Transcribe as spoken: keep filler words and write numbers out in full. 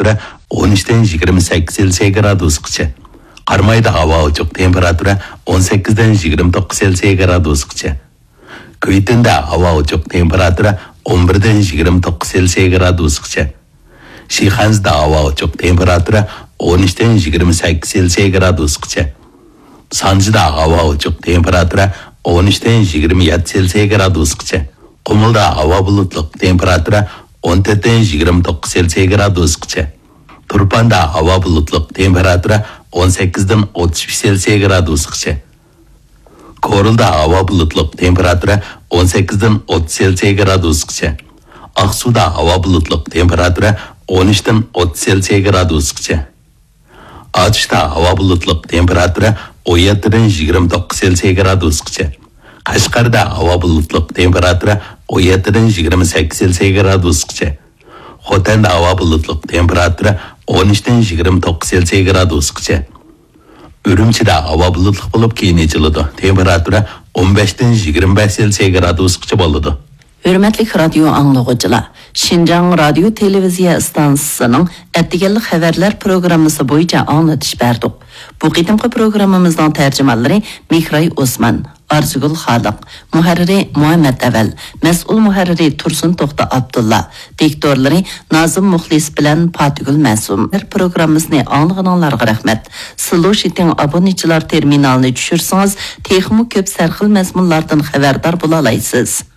تېمپېراتۇرا ئون ئۈچتىن يىگىرمە سەككىز سېلسىيە گرادۇسقىچە. قارامايدا ھاۋا ئوچۇق، تېمپېراتۇرا ئون سەككىزدىن يىگىرمە توققۇز سېلسىيە گرادۇسقىچە. كۈيتۈندە ھاۋا ئوچۇق، تېمپېراتۇرا ئون بىردىن يىگىرمە توققۇز سېلسىيە گرادۇسقىچە. شىخەنزىدە ھاۋا ئوچۇق، تېمپېراتۇرا ئون ئۈچتىن يىگىرمە سەككىز سېلسىيە گرادۇسقىچە. سانجىدا ھاۋا ئوچۇق، تېمپېراتۇرا ئون ئۈچتىن يىگىرمە يەتتە سېلسىيە گرادۇسقىچە. قۇمۇلدا ھاۋا بۇلۇتلۇق، تېمپېراتۇرا ئون تۆتتىن يىگىرمە توققۇز سېلسىيە گرادۇسقىچە. تۇرپاندا ھاۋا بۇلۇتلۇق، تېمپېراتۇرا ئون سەككىزدىن ئوتتۇز بەش سېلسىيە گرادۇسقىچە. كورلىدا ھاۋا بۇلۇتلۇق، تېمپېراتۇرا ئون سەككىزدىن ئوتتۇز سېلسىيە گرادۇسقىچە. ئاقسۇدا ھاۋا بۇلۇتلۇق، تېمپېراتۇرا ئون ئۈچتىن ئوتتۇز سېلسىيە گرادۇسقىچە. ئاتۇشتا ھاۋا بۇلۇتلۇق، تېمپېراتۇرا ئون يەتتىدىن يىگىرمە توققۇز سېلسىيە گرادۇسقىچە. قەشقەردە ھاۋا بۇلۇتلۇق، تېمپېراتۇرا ئون يەتتىدىن يىگىرمە سەككىز سېلسىيە گرادۇسقىچە. خوتەندە ھاۋا بۇلۇتلۇق، تېمپېراتۇرا ئون ئۈچتىن يىگىرمە توققۇز سېلسىيە گرادۇسقىچە. ئۈرۈمچىدە ھاۋا بۇلۇتلۇق بولۇپ، كېيىن ئېچىلىدۇ، تېمپېراتۇرا ئون بەشتىن يىگىرمە بەش سېلسىيە گرادۇسقىچە بولىدۇ. ھۆرمەتلىك رادىيو ئاڭلىغۇچىلار، شىنجاڭ رادىيو تېلېۋىزىيە ئىستانسىسىنىڭ ئەتىگەنلىك خەۋەرلەر پروگراممىسى بويىچە ئاڭلىتىش بەردۇق. بۇ قېتىمقى پروگراممىمىزنىڭ تەرجىمانلىرى مېھراي ئوسمان، ئارزۇگۈل خالىق، مۇھەررىرى مۇھەممەت ئەۋەل، مەسئۇل مۇھەررىرى تۇرسۇن توختى ئابدۇللا، دىكتورلىرى نازىم مۇخلىس بىلەن پاتىگۈل مەسۇم. پروگراممىسىنى ئاڭلىغىنىڭلارغا رەھمەت. سىلۇشىتىڭ ئابۇنىچىلار تېرمىنالىنى چۈشۈرسىڭىز، تېخىمۇ كۆپ سەرخىل مەزمۇنلاردىن خەۋەردار بولالايسىز.